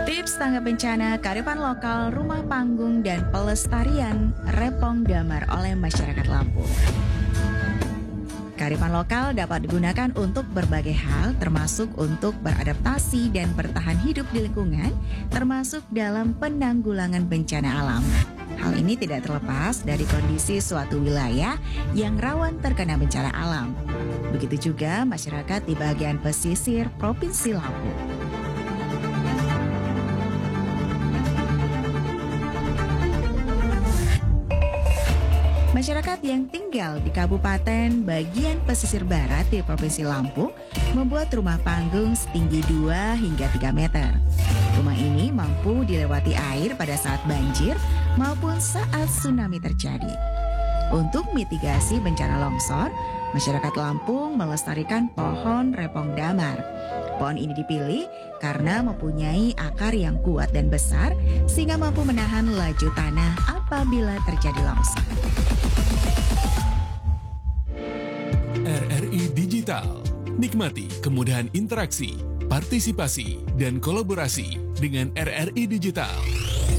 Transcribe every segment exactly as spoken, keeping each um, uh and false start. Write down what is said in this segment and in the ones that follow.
Tips tanggap bencana, kearifan lokal, rumah panggung, dan pelestarian Repong Damar oleh masyarakat Lampung. Kearifan lokal dapat digunakan untuk berbagai hal, termasuk untuk beradaptasi dan bertahan hidup di lingkungan, termasuk dalam penanggulangan bencana alam. Hal ini tidak terlepas dari kondisi suatu wilayah yang rawan terkena bencana alam. Begitu juga masyarakat di bagian pesisir Provinsi Lampung. Masyarakat yang tinggal di kabupaten bagian pesisir barat di Provinsi Lampung membuat rumah panggung setinggi dua hingga tiga meter. Rumah ini mampu dilewati air pada saat banjir maupun saat tsunami terjadi. Untuk mitigasi bencana longsor, masyarakat Lampung melestarikan pohon repong damar. Pohon ini dipilih karena mempunyai akar yang kuat dan besar, sehingga mampu menahan laju tanah apabila terjadi longsor. R R I Digital. Nikmati kemudahan interaksi, partisipasi, dan kolaborasi dengan R R I Digital.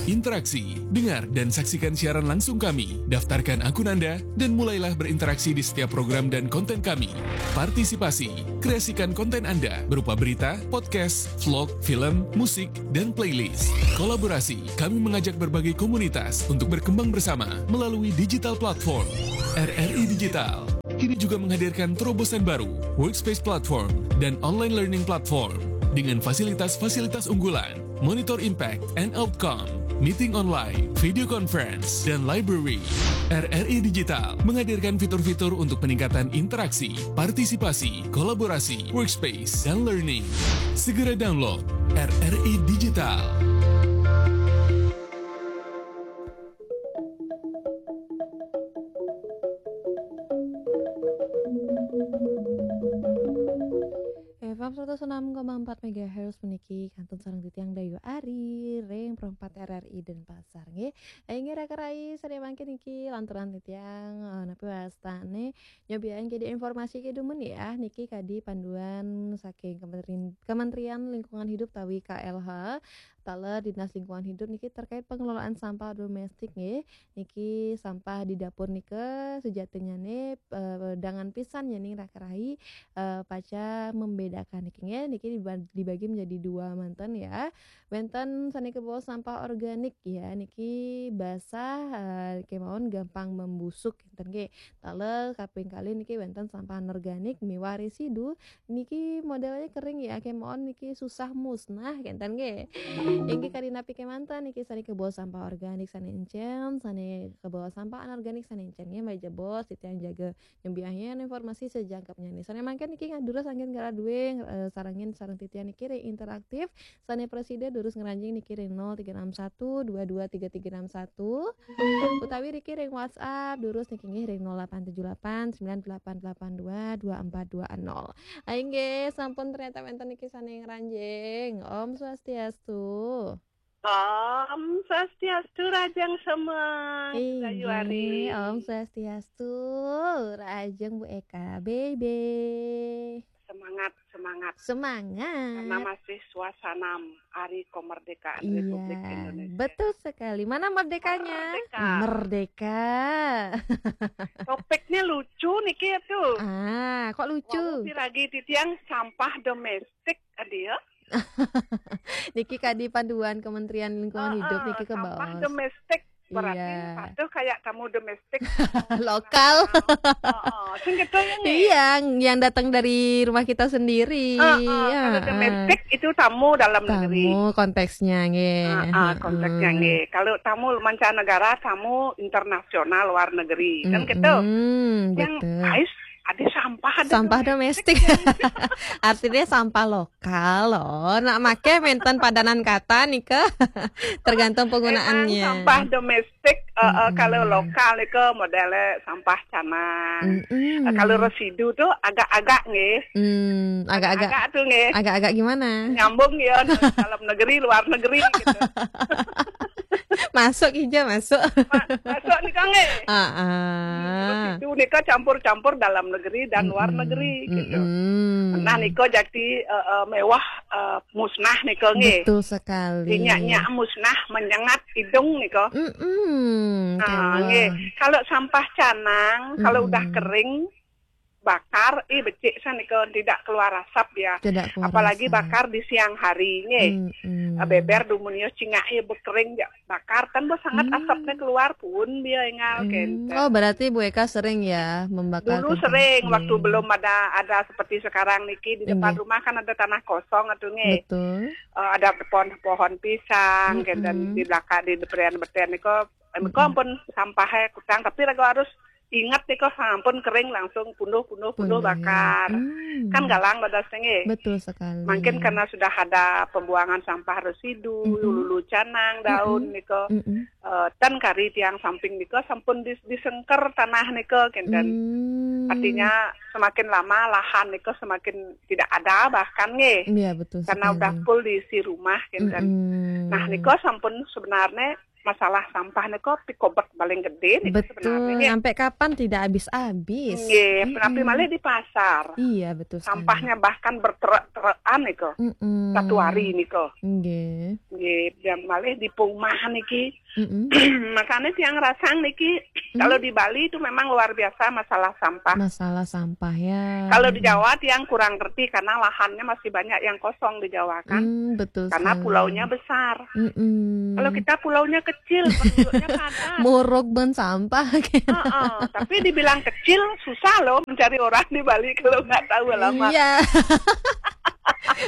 Interaksi, dengar dan saksikan siaran langsung kami. Daftarkan akun Anda dan mulailah berinteraksi di setiap program dan konten kami. Partisipasi, kreasikan konten Anda berupa berita, podcast, vlog, film, musik, dan playlist. Kolaborasi, kami mengajak berbagai komunitas untuk berkembang bersama melalui digital platform. R R I Digital kini juga menghadirkan terobosan baru, Workspace Platform dan Online Learning Platform dengan fasilitas-fasilitas unggulan, Monitor Impact and Outcome, Meeting Online, Video Conference, dan Library. R R I Digital menghadirkan fitur-fitur untuk peningkatan interaksi, partisipasi, kolaborasi, workspace, dan learning. Segera download R R I Digital. F M seratus enam koma empat megahertz puniki kantun sareng titiang Dayu Ari ring Pro empat R R I Denpasar nggih. Inggih raka rai, sane mangkin niki lanturan titiang, eh, napi wastane nyobiain kadi informasi kedumun ya, niki kadi panduan saking Kementerian, Kementerian Lingkungan Hidup tawi K L H, taler Dinas Lingkungan Hidup niki terkait pengelolaan sampah domestik nggih. Niki sampah di dapur nika sejatinyane, eh, dangan pisan nyening raka rai, eh, paca membedakan niki nggih. Niki diba-, dibagi menjadi dua manten ya. Wenten sane kebawa sampah organik ya, niki basah, eh, kemawon gampang membusuk enten nggih. Taler kaping kalih niki wenten sampah anorganik miwah residu, niki modelnya kering ya, kemawon niki susah musnah kenten nggih. Inggih kadi napi kemanten niki sane kebawa sampah organik sane encen, sane kebawa sampah anorganik sane encen nggih, mari jebos titiang jaga nyembiahin informasi sejangkepnya nih. Sane mangkin niki ngadurus anggen ngara duwe, eh, sarengin sareng titiang niki ring interaktif, sane prasida durus ngranjing niki ring nol tiga enam satu dua dua tiga tiga enam satu, utawi riki ring WhatsApp durus niki nggih ring nol delapan tujuh delapan sembilan delapan delapan dua dua empat dua nol. Inggih, sampun ternyata wenten niki sane ngranjing. Om Swastiastu. Om Swastiastu, Rajang Semeng, Dayu Ari. Om Swastiastu, Rajang Bu Eka, Bebe. Semangat, semangat. Semangat. Karena masih suasana Hari Kemerdekaan Republik Indonesia. Betul sekali. Mana merdekanya? Merdeka. Merdeka. Topiknya lucu niki ya tuh. Ah, kok lucu? Wau piragi titiang sampah domestik, adi ya. Niki kadi panduan Kementerian Lingkungan Ah, Hidup ah, niki sampah kebaos. Domestik berarti Iya. Patuh kayak tamu domestik. Lokal. Oh, oh. Sing gitu ya nih. Iya, yang datang dari rumah kita sendiri. Ah, ah, Ya, kalau ah. Domestik itu tamu dalam negeri. Tamu konteksnya nggih. Ah, ah, konteksnya Mm-mm. nggih. Kalau tamu mancanegara, tamu internasional, luar negeri, kan gitu. Mm-mm, Yang betul. ais ada sampah, ada Sampah domestik. Artinya sampah lokal loh. Nak make menten padanan kata nika. Tergantung Emang penggunaannya. Sampah domestik, eh, eh, Mm-mm. Kalau lokal itu modelnya sampah canang. Mm-mm. Eh, kalau residu tuh agak-agak nggih. Hmm, agak-agak Agak tuh nggih. Agak-agak gimana? Nyambung ya, dalam negeri, luar negeri gitu. Masuk, Ija, masuk. Ma- masuk nika nggih. Ah, ah. Itu nika campur-campur dalam negeri dan luar negeri gitu. Mm-mm. Nah, nika jadi eh, eh, mewah eh, musnah nika nggih. Betul sekali. Dinyak-nyak musnah, menyengat hidung nika. Mm-mm. Nah, Kawah. Nggih. Kalau sampah canang, kalau udah Mm-mm. kering, bakar, ih becik sanika, tidak keluar asap ya. Tidak keluar Apalagi asap. Bakar di siang hari nggih. Mm-mm. Ah, beber dumun ya cingak ya bekering ya bakar kan bo sangat Hmm. asapnya keluar pun dia engal Hmm. kenten. Oh, berarti Bu Eka sering ya membakar Dulu kentang? sering waktu Iya. belum ada ada seperti sekarang niki di depan Nggih. Rumah kan ada tanah kosong atuh nggih. Betul. Eh, ada pohon-pohon pisang Mm-mm. dan di belakang di depan-depan niko niko Mm-mm. pun sampahnya kutang tapi lagu harus ingat niko sampun kering langsung punduh-punduh punduh Punduh, ya. Bakar. Hmm. Kan galang badasnya nggih. Betul sekali. Mungkin karena sudah ada pembuangan sampah residu, Mm-mm. lulu canang, daun Mm-mm. niko. Mm-mm. Eh, ten kari tiang samping niko sampun dis- disengker tanah niko kenten. Hmm. Artinya semakin lama lahan niko semakin tidak ada bahkan nggih. Iya, betul Karena sekali. udah full diisi rumah kenten. Mm-mm. Nah, niko sampun sebenarnya masalah sampah niko pikobek paling gede niko Betul, sebenarnya nggih. Sampai kapan tidak habis-habis. Nggih, tapi Mm-mm. Malih di pasar. Iya, betul sekali. Sampahnya bahkan berterek-terekan niko. Mm-mm. Satu hari niko. Nggih. Nggih, dan Malih di perumahan niki. Mm-mm. Makanya tiang rasang niki Hmm. kalau di Bali itu memang luar biasa masalah sampah. Masalah sampah ya. Kalau di Jawa tiang kurang ngerti karena lahannya masih banyak yang kosong di Jawa kan. Hmm, betul Karena sekali. Pulaunya besar. Mm-mm. Kalau kita pulaunya kecil, penduduknya padat. Muruk ben sampah. Heeh, tapi dibilang kecil susah loh mencari orang di Bali kalau nggak tahu alamat. Iya.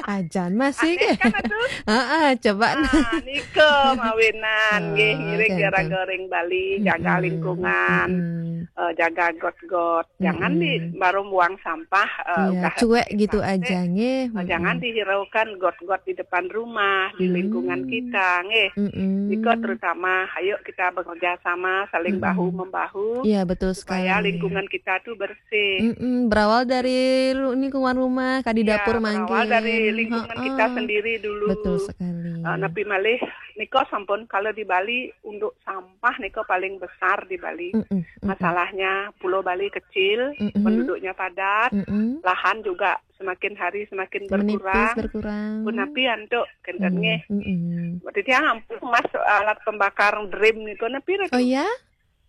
Ajan masih. Aneh kan atuh? Heeh, coba. Nah, niko mawinan nggih Oh, ngiring kenten. Gara-gara ring Bali, jaga Mm-mm. lingkungan, Mm-mm. eh, jaga got-got. Jangan di Mm-mm. baru buang sampah eh, Iya, udah cuek gitu plastik, aja nggih. eh, jangan Mm-mm. dihiraukan got-got di depan rumah, di lingkungan Hmm. kita nggih. Mm-mm. Niko terutama ayo kita bekerja sama saling Mm-mm. bahu membahu Iya, betul supaya sekali. Lingkungan kita tuh bersih. Mm-mm, berawal dari ru- lingkungan rumah, kak di Ya, dapur berawal mangkin. dari lingkungan kita Heeh. Sendiri dulu. Betul sekali. Eh, napi malih niko sampun kalau di Bali untuk sampah niko paling besar di Bali. Mm-mm, mm-mm. Masalahnya Pulau Bali kecil, Mm-mm. penduduknya padat, Mm-mm. lahan juga semakin hari semakin Menipis, berkurang. Berkurang. Punapi antuk kenten Hmm, nggih. mm-mm. Berarti tiang ampun mas alat pembakar dream niko napi Oh ya?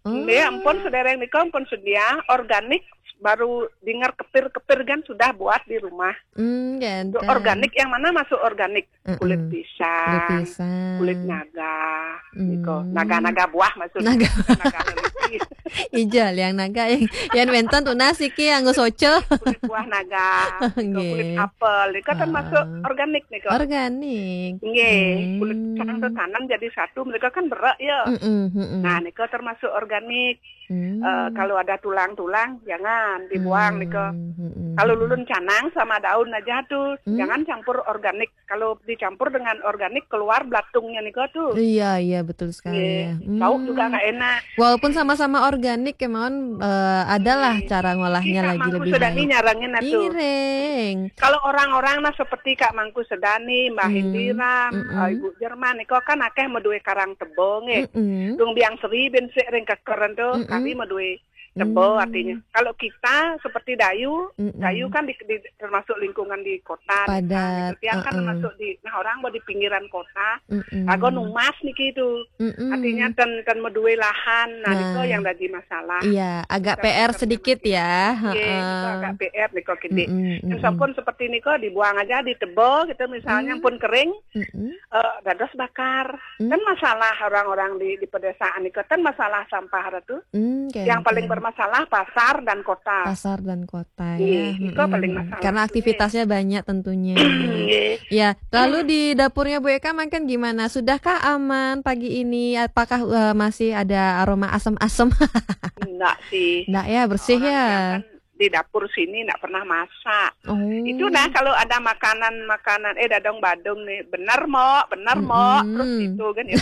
Nggih, ampun sedereng niko ampun sedia organik baru dengar kepir-kepir kan sudah buat di rumah. Hmm, Untuk ganteng. Organik yang mana masuk organik? Mm-mm. Kulit pisang, Kulit pisang. Kulit naga, Hmm. Niko. Naga-naga buah maksudnya. Naga. Naga lelaki. Ijal yang naga yang yang wenten tunas iki anggo soco. Kulit buah naga, niko, kulit Nggih. Apel, niko termasuk Ah. Organik niko. Organik. Nggih, kulit Hmm. pisang tuh tanam jadi satu, mereka kan berak ya. Mm-mm, mm-mm. Nah, niko termasuk organik. Hmm. Eh, kalau ada tulang-tulang, jangan dibuang niko. Hmm, mm-mm, Kalau mm-mm. Lulun canang sama daun aja tuh, Hmm. Jangan campur organik. Kalau dicampur dengan organik keluar belatungnya niko tuh. Iya, iya, betul sekali Nggih, ya. Bau Hmm. juga nggak enak. Walaupun sama-sama organik ya, Maon, eh, adalah Nggih. Cara ngolahnya Kita lagi mangku lebih sedani baik. Nyarangin atuh. Ngiring. Kalau orang-orang nah seperti Kak Mangku Sedani, Mbah Hmm, Indira, mm-mm. eh, Ibu Jerman, niko kan akeh meduwe karang tebo nggih. Mm-mm. Dung biang seri bin sik ring keker ento, Mm-mm. kami meduwe tebo Hmm. Artinya. Kalau kita seperti Dayu, Mm-mm. Dayu kan di, di, termasuk lingkungan di kota, Padat, desa, gitu. Tiang kan uh-uh. Termasuk di, nah orang mau di pinggiran kota, Mm-mm. Ago numas niki itu. Mm-mm. Artinya ten ten meduwe lahan, nah, niko Nah. Yang dadi masalah. Iya, agak Kita P R bisa sedikit mengerti. Ya. Nggih, niko Heeh. Agak P R niko gede. Mm-mm, Yang mm-mm. Sampun seperti niko dibuang aja di tebo gitu misalnya Hmm. Pun kering, Mm-mm. eh, dados bakar. Hmm. Kan masalah orang-orang di di pedesaan niko kan masalah sampah itu. Hmm, Yang paling ganteng. Bermasalah pasar dan kota. Pasar dan kota Iya, ya. itu paling Mm-mm. Masalah. Karena aktivitasnya banyak tentunya. Nggih. Ya, lalu di dapurnya Bu Eka makan gimana? Sudahkah aman pagi ini? Apakah eh, masih ada aroma asam-asam? Enggak sih. Enggak ya, bersih Orang ya. Yang kan di dapur sini ndak pernah masak. Oh. Itu nah, kalau ada makanan-makanan, eh, dadong badung nih, bener mo, bener mo, terus Mm-mm. Gitu kan ya.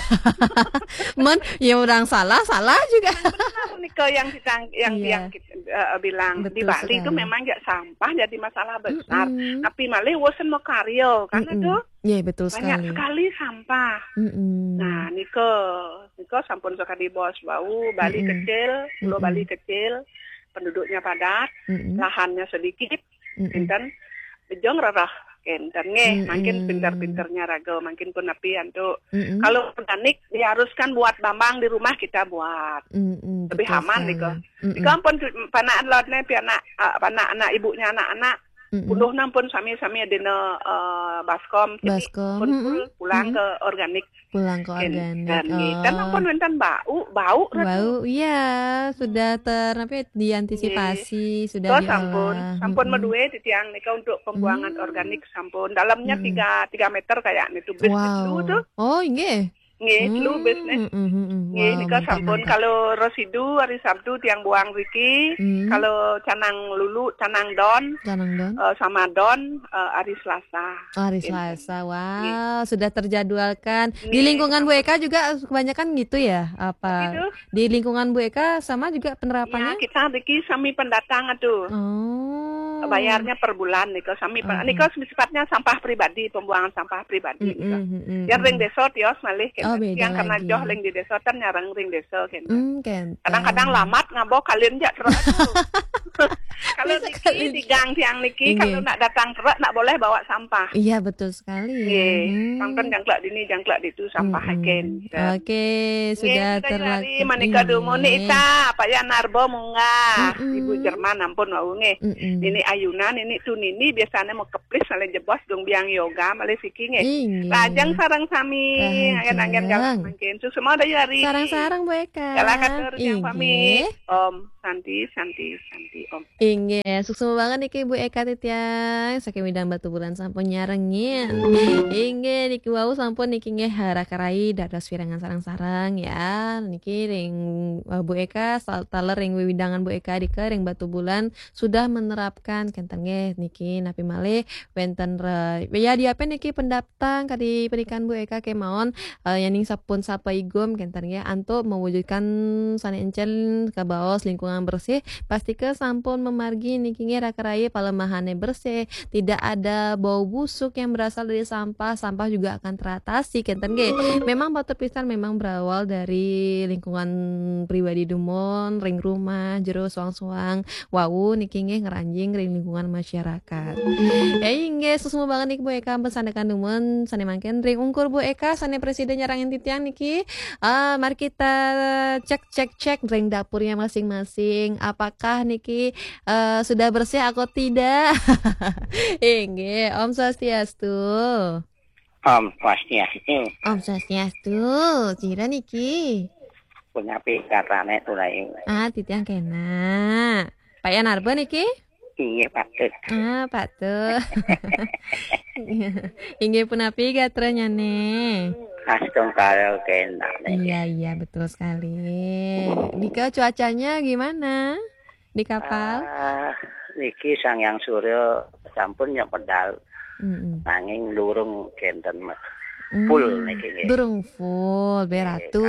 Men, ya orang salah, salah juga. Bener nih ke yang kita yang Iya. yang kita eh, bilang di Betul Bali itu sekali. Memang nggak sampah jadi masalah besar. Mm-mm. Tapi malah bosen mau karyo karena Mm-mm. tuh Ya, betul banyak sekali. Sekali sampah. Mm-mm. Nah, niko niko sampun sekali bos bau Bali Mm-mm. Kecil, Pulau Mm-mm. Bali Kecil, penduduknya padat, Mm-mm. Lahannya sedikit, Mm-mm. Kenten, bejong rerah, Kenten nggih, makin Mm-mm. Pinter-pinternya raga, makin pun nepi antuk. Mm-mm. Kalau organik diharuskan buat bambang di rumah kita buat. Mm-mm, Lebih betul aman sekali. Niko. Mm-mm. Niko ampun panaan lot nih, pianak, eh, panaan anak ibunya anak-anak. Mm-mm. Puluh nampun sami-sami dina eh, baskom. Jadi Baskom, pun mm-mm, full pulang mm-mm. Ke organik. Pulang ke organik. Dan nggih. Oh. Dan ampun wonten bau, bau ratu. Bau, iya, sudah ter apa ya, diantisipasi, sudah Terus sampun, diolah. sampun Mm-mm. Medue titiang nika untuk pembuangan Hmm. Organik sampun. Dalamnya Mm-mm. tiga tiga meter kayaknya itu. Bis Wow. Dulu tuh. Oh, inggih. Nggih, dulu bis nih. Hmm, mm, mm, mm. Nggih, Wow, nika mantap, sampun mantap. Kalau residu hari Sabtu tiang buang riki, Hmm. Kalau canang lulu, canang don, Canang don. Eh, sama don, eh, hari Selasa. Oh, hari Enten. Selasa. Wah, sudah terjadwalkan. Di Nggih, lingkungan Bu sampun. Eka juga kebanyakan gitu ya? Apa Gitu. di lingkungan Bu Eka sama juga Ya, penerapannya? Kita niki sami pendatang atuh. Oh. Bayarnya per bulan nika sami pen- Oh, nika sifatnya sampah pribadi, pembuangan sampah pribadi nika. Mm-mm, mm-mm, Yang ring mm. Desa tios malih Oh, kan. beda Yang karena lagi. Joh ring di Desa kan nyarang ring Desa kan. Hmm, kenten. Kadang-kadang lamat ngabok kalian jak terus. Kalau Bisa niki kalian. Di gang tiang niki Inggih. Kalau nak datang terus nak boleh bawa sampah. Iya, betul sekali. Nggih, Hmm. Pangken jangklak dini jangklak ditu sampah Mm-mm. aken. Oke, sudah Nggih, terlaku. Hari manika dumun ni ita apa ya narbo munggah. Mm-mm. Ibu Jerman ampun wau nggih. Mm-mm. Nini Ayuna, nini tu nini biasanya mau keplis malih jebos dong biang yoga malih siki nggih. Inggih. Lajeng sarang sami, Lajeng. Anggen-anggen galah mangkin. Suksma Dayu Hari. Sarang-sarang Bu Eka. Galah katur yang Inggih. Pamit. Om Santi, Santi, Santi, Om. Inggih, suksma banget niki Bu Eka titiang. Saking Widang Batubulan sampun nyarengin. Inggih, niki wau sampun niki nggih hara karai dados wirangan sarang-sarang ya. Niki ring eh, Bu Eka sal- taler ring wiwidangan Bu Eka dike ring Batubulan sudah menerapkan kenten nggih niki napi malih wenten re, ya diape niki pendaptang kadi penikan Bu Eka kemawon eh, yaning sapun sapa igum kenten nggih antuk mewujudkan sane encen kabaos lingkungan bersih, pastika sampun memargi niki nggih raka raya palemahane bersih, tidak ada bau busuk yang berasal dari sampah, sampah juga akan teratasi kenten nggih. Memang batur pisan memang berawal dari lingkungan pribadi dumun, ring rumah, jero suang-suang, wau niki nggih ngranjing ring lingkungan masyarakat. Ya inggih, suksma banget niki Bu Eka ampun sandekan dumun sane mangkin ring ungkur Bu Eka sane presida nyarengin titiang niki. Ah, mari kita cek cek cek ring dapurnya masing-masing. Apakah niki eh, sudah bersih atau tidak? Inggih, Om Swastiastu. Om Swastiastu. Om Swastiastu. Sira niki? Punapi katane tulai. Ah, titiang kena. Pak Yanarba niki? Inggih patut. Ah, patut. Inggih punapi gatranyane? Astungkara kena. Iya, iya, betul sekali. Dika, cuacanya gimana di kapal? Ah, niki Sang Yang Surya sampun yang pedal. Mm-mm. Nanging durung kenten, Mas. Hmm, Full niki nggih. Durung full, beratu.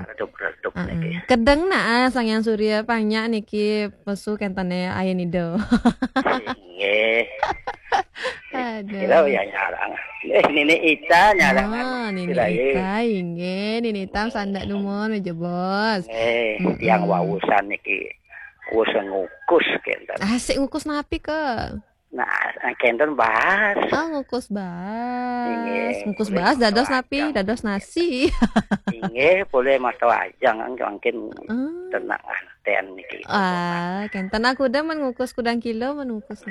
Redup-redup Heeh. niki. Kedeng nah Sang Yang Surya panyak niki pesu kentene ayen ido. Nggih. Aduh. Kira ya nyarang. Eh, Nini Ita nyarang. Ah, Nini Kira, eh. Ita inggih, Nini Ita sandak dumun meja bos. Eh, Mm-mm. Yang wausan niki wis ngukus kenten. Asik ngukus napi ke? Nah, kenten bahas. Ah, ngukus bas. Inggih, Ngukus boleh bas dados masalah napi, ajang. Dados nasi. Inggih, boleh masalah ajang kan mangkin Ah. Tenang anten niki. Ah, kenten aku udah men ngukus kudang kilo men ngukus.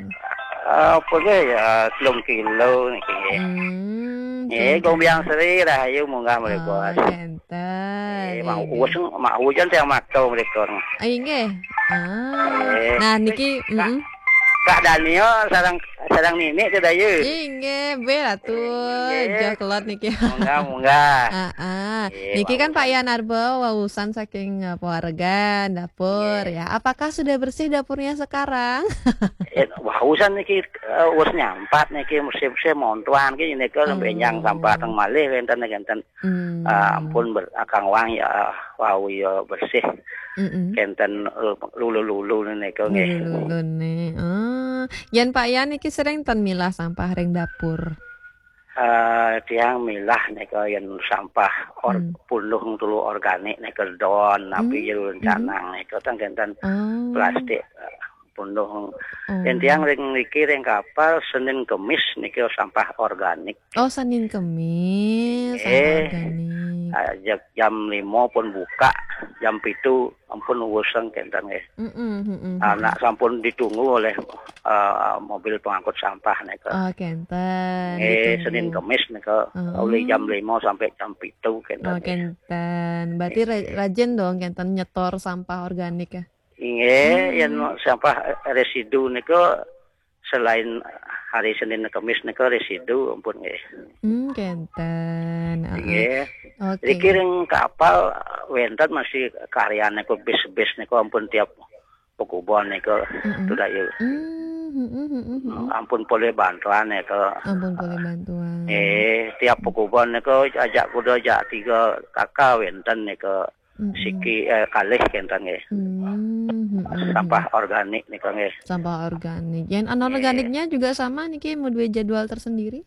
Apa nggih ya telung kilo niki nggih. Hmm. Nggih, Kenten. Gombiang Sri rahayu munggah mriki, Oh, Bos. kenten. Eh, mau Inggih. uwes mau hujan saya mato mriki. Ah, inggih. Ah. Eh, Nah, niki Kak. mm. Kak Daniel sareng sareng Nini teh, Dayu. Inggih, béh atuh. Inggih. Joh kelot niki. Munggah, munggah. Ah, ah. Inggih, Niki kan wau. Pak Yan Arba wausan saking eh, pawargan dapur Inggih. Ya. Apakah sudah bersih dapurnya sekarang? Eh, wausan niki, eh, wis nyampat niki, mesti-mesti montuan ki nika. Oh. Benjang sampah teng malih wénten, wénten. Hmm. Ah, ampun ber, akang wang ya, wau ya bersih. Mm-mm. Kenten, eh, lulu-lulu nika nggih. Lulu-lulu nih. Oh, yen Pak Yan niki sering ten milah sampah ring dapur. Eh, tiang milah nika yen sampah or, Hmm. pundung tulu organik nika don, tapi Hmm. jero canang nika teng kenten Oh. plastik, eh, pundung. Oh. Yen tiang ring niki ring kapal Senin Kemis nika sampah organik. Oh, Senin Kemis, sampah Eh. organik. Ah, jam, jam lima pun buka, jam pitu ampun wuseng kenten nggih. Mm-mm, mm-mm. Anak sampun ditunggu oleh, eh, mobil pengangkut sampah nika. Oh, kenten. Eh, Ditunggu. Senin Kemis nika, Oh. oleh jam lima sampai jam pitu kenten. Oh, kenten. Berarti ra- rajin dong kenten nyetor sampah organik ya. Inggih, Hmm. yen sampah, eh, residu nika selain hari Senin Kemis nika residu ampun nggih. Hmm, kenten. Heeh. Inggih. Oke. Niki ring kapal wénten masih karyan niku bis-bis niku ampun tiap pekubon niku Mm-mm. sudah ya. Hmm, mm-mm, mm-mm, mm-mm. Ampun polih bantuan niku. Ampun polih bantuan. Eh, tiap pekubon niku ajak kuda ajak tiga kaka wénten niku. Mm-mm. Siki, eh, kalih kenten nggih. Hmm, mm-mm, Sampah organik niku nggih. Sampah organik. Yang anorganiknya juga sama niki mau dua jadwal tersendiri?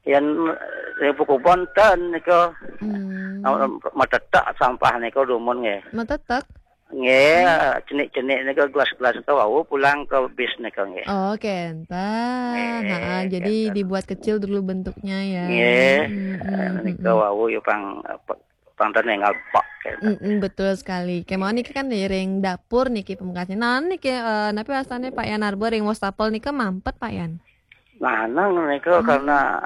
Yen, eh, pekubon ten niku. Hmm. Matetek sampah niku dumun nggih. Matetek? Nggih, cenik-cenik niku gelas-gelas niku wau pulang ke bis niku nggih. Oh, kenten. Nggih, Ha, jadi kenten. Dibuat kecil dulu bentuknya ya. Nggih, Mm-mm, eh, niku mm-mm. wau ya pang pang ten ninggal pok kenten. Mm-mm, betul sekali. Kemawon niki kan ring dapur niki pamekasnyané. Nah, niki eh, napi wastane Pak Yan Arba ring wastafel nika mampet Pak Yan? Nah, nang niku karena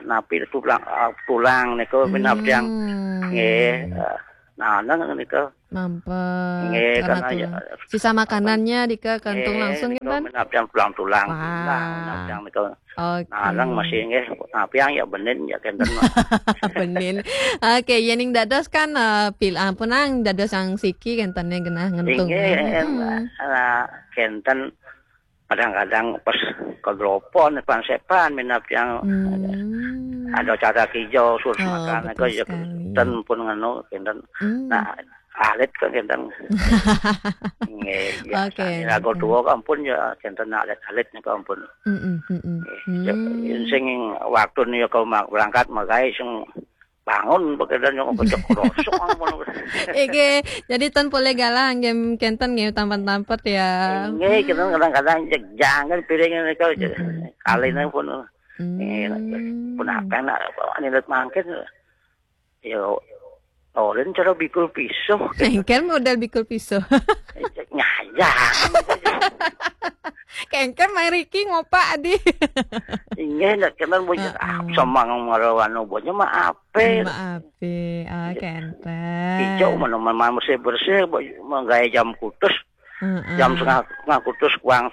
napi tulang, tulang niku minab tiang Hmm. nggih. Eh, nah, nang niku Mampet. Nggih, Karena karena ya, tulang. Sisa makanannya dika kantung nggih, langsung niku kan? minab tiang tulang-tulang. Wah. Nah, minab tiang niku. Oke. Nah, nang masih nggih, nah, piang ya benin ya kenten. Benin. Oke, yening dados kan eh, pil ampun nang dados yang siki kentene genah ngentung. Inggih, Mm-mm. nah, kenten kadang-kadang pas kedropon pansepan minab tiang Hmm. ada cara kijau sur Oh, makan betul ya sekali. Ten pun nganu kenten. Hmm. Nah, alit kan kenten. Nggih, biasa. Oke, Lagu oke. Tua ampun ya kenten alit-alit niku ampun. Mm-mm, mm-mm. Ya, Hmm. sing waktu niku mak berangkat magai sing bangun pekerjaan yang kecek kerosok ampun. Oke, jadi ten boleh galah nggih kenten nggih tampet-tampet ya. Nggih, kita kadang-kadang jeg jangan piring niku Mm-mm. kaline pun. Hmm. Nggih, pun apa nak nilet mangkin. Ya, oleh cara bikul pisuh. Engkel modal bikul pisuh. Nyayang. Kengken mriki ngopak adi. Inggih, nak kenal bojo Heeh. Sama ngomong anu bojo mah ape. Maaf, ah kenten. Ijo mana mana mesti bersih, menggawe jam kutus, Heeh. jam setengah, setengah kutus kuang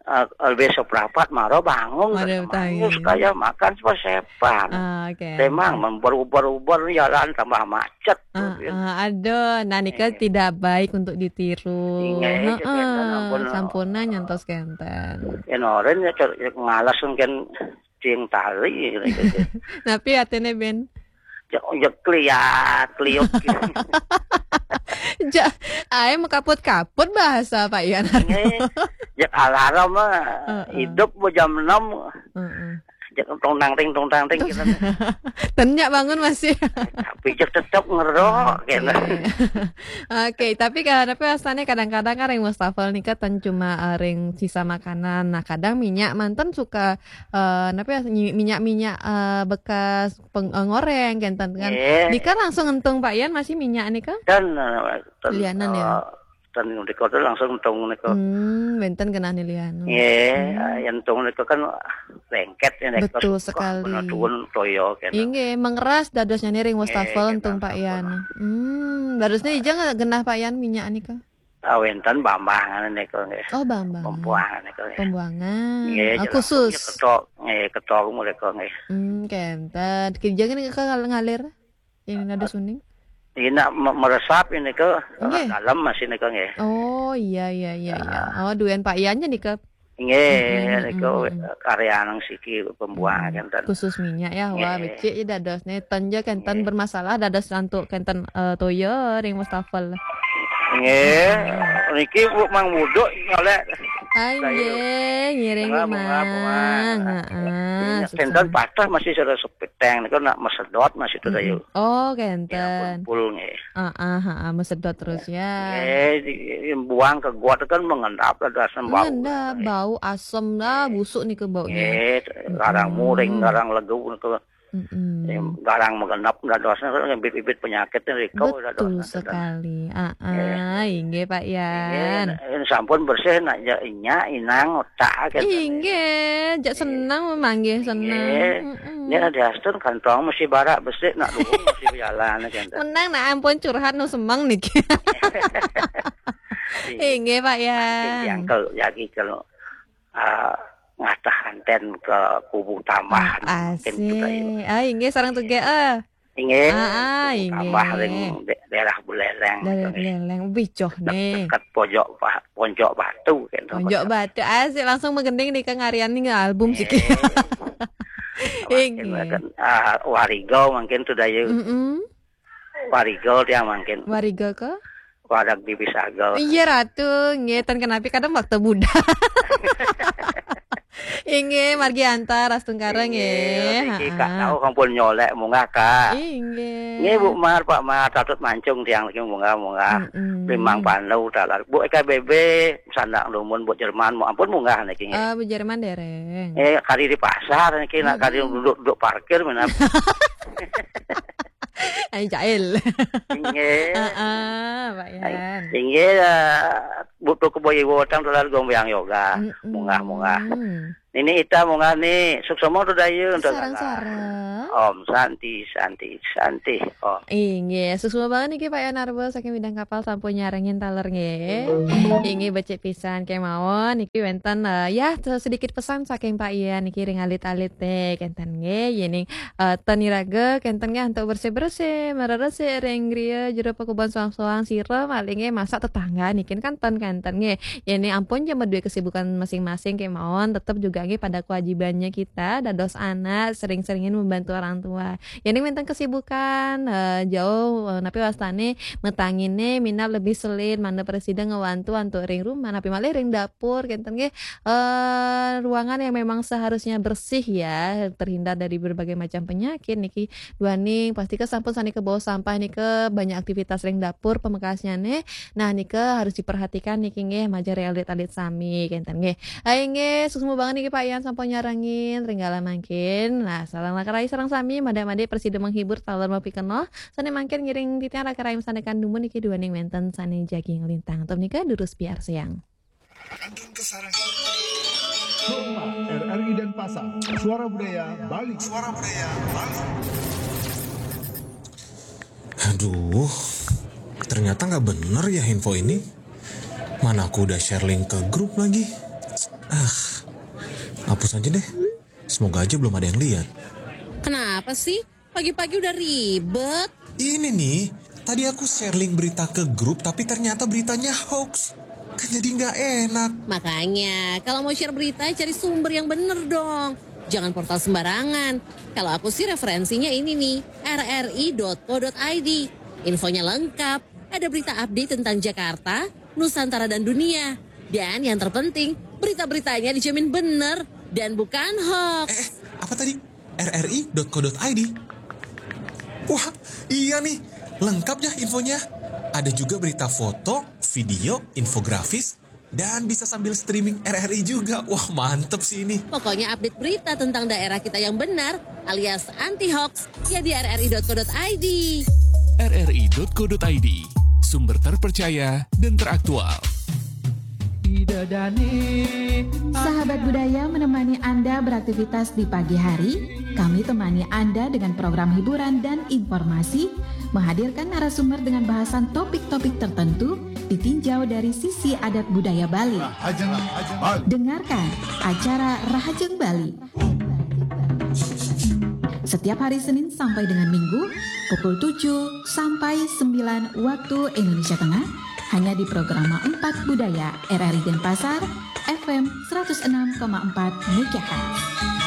eh, lebih seprapat maro bangun. Maro tangi. Terus kaya makan sepan. Ah, oke. Memang member-uber-uber jalan tambah macet. Ah, ah, aduh, nah nika Eh. Tidak baik untuk ditiru. Inggih, Heeh, kenten ampun. Sampurna nyantos kenten. Yen oren ya cer- ya ngalas mungkin cing tali gitu. Napi atene Ben? Ya, ya kliat, kliut gitu. Ja, ae mekaput-kaput bahasa Pak Yan. Nggih. Ya alarm mah Heeh. hidup mau jam enam. Heeh. Ya tong tang ting tong tang ting gitu. Tenyak bangun masih. Tapi ya tetap ngerok gitu. Oke, tapi kadang tapi rasanya kadang-kadang kan ring wastafel nika ten cuma eh, ring sisa makanan. Nah, kadang minyak manten suka eh napi ya, nyi- minyak-minyak eh, bekas peng, eh, ngoreng kenten kan. Nggih. Nika langsung entung Pak Yan masih minyak nika? Dan eh, ten, Lianan ya? eh, ten niku langsung tong niku. Hmm, benten kenane lianan. Nggih, yang tong niku kan lengket ya niku. Betul sekali. Tuwun toya kena. Inggih, mengeras dadosnya ring wastafel Nggih, entung Pak kenten Yan. Hmm, dadosnya ija nggak genah Pak Yan minyak nika? Ah, wénten Bambang nika nggih. Oh, Bambang. Pembuangan nika nggih. Pembuangan. Nggih, ah, jelas khusus. Ketok, nggih, ketok mereka nggih. Hmm, kenten. Kerja kan ke ngalir? Ini nada suning? Ini nak me-, meresap ini ke, nggih, dalam masih nika nggih. Oh, iya, iya, iya, iya. Ah. Oh, duén Pak Iannya nika. Nggih, mm, mm, nika, mm, karya nang siki pembuangan kenten. Khusus minyak ya, wah, nggih, becik ya dados. Nih, ten ya kenten, nggih, bermasalah dados lantuk kenten, eh, toya ring wastafel. Nggih, niki Bu Mang Buduk nyolek. Ah, nggih, ngiring, Mang. Bunga, bunga, bunga. Heeh, kenten patah masih sudah sepeteng, niku nak mesedot masih tuh, mm-mm, dayu. Oh, kenten. Ya, pul-pul nggih. Ah, ah, ah, ah, mesedot terus ya. Nggih, di-, buang ke got kan mengendap lah, asam bau. Mengendap, bau asam lah, nggih, busuk nih ke baunya. Nggih, garang muring, garang legu ke, mm-mm, em, garang mengendap dadosnya kan bibit-bibit penyakit nih, riko dadosnya. Betul sekali. Ah, ah, inggih, Pak Yan. Nggih, sampun bersih nak ja-, inyak, inang, otak, gitu. Inggih, jak senang memang, nggih, senang. Nggih. Mm-mm. Ini ada astun kantong masih barak besik nak dukung masih berjalan, gitu. Menang nak ampun curhat nu semeng niki. Iya. Inggih, Pak Yan. Yang kalau, ya, gitu, kalau, ah, ngatah anten ke kubu tambahan, ah, mungkin juga, ya. Asik. Ah, inggih, sareng tuge, eh. Inggih, ah, ah, kubu tambah ring de-, daerah Buleleng, daerah gitu, nggih. Buleleng, wih, joh, nih. Dekat pojok ba-, Ponjok Batu, gitu, Ponjok Batu. Asik, langsung menggending nih, Kang Aryan nih, album sih. Nggih. Inggih. Mungkin, ah, Warigo mungkin sudah yuk. Mm-mm. Warigo dia mungkin. Warigo ke? Wadag di Pisago. Iya, Ratu. Nggih, ten kenapi kadang waktu muda. Inggih, margi antar, astungkara, nggih. Nggih, niki Kak, tahu sampun nyolek munggah, Kak. Inggih. Nggih, Bu Mar, Pak Mar, Tatut Mancung tiang niki munggah, munggah. Mm-mm. Limang Pandu, talar. Bu E K B B, Sandak Lumun, Bu Jerman, mu-, ampun munggah niki, nggih. Eh, Bu Jerman dereng. Eh, kari di pasar niki, nak kari duduk-duduk parkir, minap. Ai, jahil. Inggih. Heeh, Pak Yan. Inggih, eh, butuh keboyi wotang dolar gombayang yoga. Mm-mm. Munggah, munggah. Nini Ita munggah nih, suksema tu daya untuk sareng-sareng. Om Santi, Santi, Santi. Om. Inggih, suksema banget niki Pak Yan Arbo saking Bidang Kapal sampun nyarengin taler nggih. Inggih, becik pisan kemawon niki wénten, eh, ya, sedikit pesan saking Pak Yan niki ring alit-alit teh kenten nggih. Yening eh, ten iraga kenten nggih antuk bersih-bersih, mereresik ring griya jero pakuban soang-soang sira malih nggih masak tetangga niki kan ten kenten nggih. Yén ampun ja madué kesibukan masing-masing kemawon, tetep juga nggih pada kewajibannya kita dados anak sering-seringin membantu orang tua. Yén wénten kesibukan, eh, jauh, eh, napi wastane metanginé minab lebih selin mangda presida ngewantu antuk ring rumah, napi malih ring dapur kenten nggih. Eh, ruangan yang memang seharusnya bersih ya, terhindar dari berbagai macam penyakit niki. Duaning pastika sampun sané kebawa sampah nika banyak aktivitas ring dapur pamekasnyane. Nah, nika harus diperhatikan niki nggih, majeng ring alit-alit sami kenten nggih. Hai nggih, suksma banget niki Pak Yan sampun nyarengin ring galah mangkin. Nah, sareng raka rai sareng sami, madik-madik prasida menghibur taler mapikenoh. Sané mangkin ngiring titiang raka rai masandekan dumun niki duaning wénten sané jagi nglintang. Antuk nika durus piarsayang. Kantun Kesarangan. Kompas, R R I Denpasar, Suara Budaya Bali. Suara Budaya Bali. Aduh, ternyata nggak bener ya info ini. Mana aku udah share link ke grup lagi. Ah, hapus aja deh. Semoga aja belum ada yang lihat. Kenapa sih? Pagi-pagi udah ribet. Ini nih, tadi aku share link berita ke grup, tapi ternyata beritanya hoax. Kan jadi nggak enak. Makanya, kalau mau share berita, cari sumber yang bener dong. Jangan portal sembarangan. Kalau aku sih referensinya ini nih, R R I dot co dot I D. Infonya lengkap, ada berita update tentang Jakarta, Nusantara dan dunia. Dan yang terpenting, berita-beritanya dijamin bener dan bukan hoax. Eh, eh, apa tadi? R R I dot co dot I D. Wah, iya nih, lengkap ya infonya. Ada juga berita foto, video, infografis, dan bisa sambil streaming R R I juga. Wah, mantep sih ini. Pokoknya update berita tentang daerah kita yang benar alias anti hoax ya di R R I dot co dot I D. R R I dot co dot I D, sumber terpercaya dan teraktual. Sahabat budaya menemani Anda beraktivitas di pagi hari. Kami temani Anda dengan program hiburan dan informasi, menghadirkan narasumber dengan bahasan topik-topik tertentu ditinjau dari sisi adat budaya Bali. Rahajeng Bali. Dengarkan acara Rahajeng Bali setiap hari Senin sampai dengan Minggu pukul tujuh sampai sembilan waktu Indonesia Tengah, hanya di Programa empat Budaya R R I Denpasar, F M seratus enam koma empat megahertz.